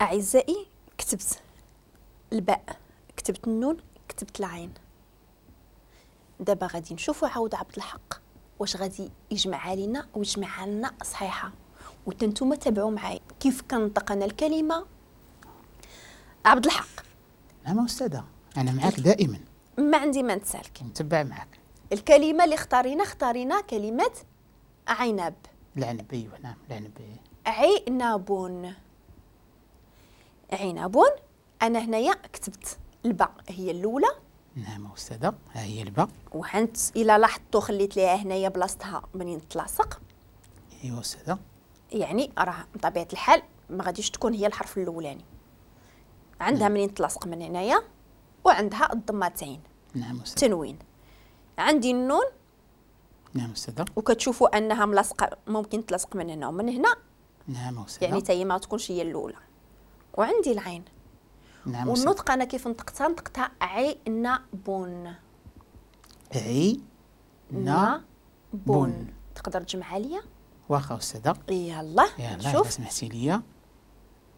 اعزائي كتبت الباء، كتبت النون، كتبت العين. دابا غادي نشوفوا عاود عبد الحق واش غادي يجمعها لينا ويجمعها لنا صحيحه، وتنتوما تابعوا معايا كيف كنطق انا الكلمة. عبد الحق. نعم استاذه، انا معاك دائما، ما عندي ما نتسالك، نتبع معاك. الكلمة اللي اختارينا كلمة عنب. العنب، ايوه نعم العنب. عنب، عنب. انا هنايا كتبت الباء هي الاولى. نعم استاذه، ها هي الباء. وحنت الى لاحظتوا خليت ليها هنايا بلاصتها منين تلاصق. ايوا استاذه، يعني راه بطبيعة الحال ما غاديش تكون هي الحرف الاولاني، عندها منين تلاصق من هنايا، وعندها الضمتين. نعم استاذه. تنوين. عندي النون. نعم استاذه. وكتشوفوا انها ملاصقه، ممكن تلاصق من هنا ومن هنا. نعم استاذه. يعني حتى هي ما تكونش هي الاولى. وعندي العين. نعم. والنطق انا كيف نطقتها؟ نطقتها عنب. عنب. تقدر تجمعها ليا؟ واخا استاذه. يلا يلا شوف، سمحتي لي.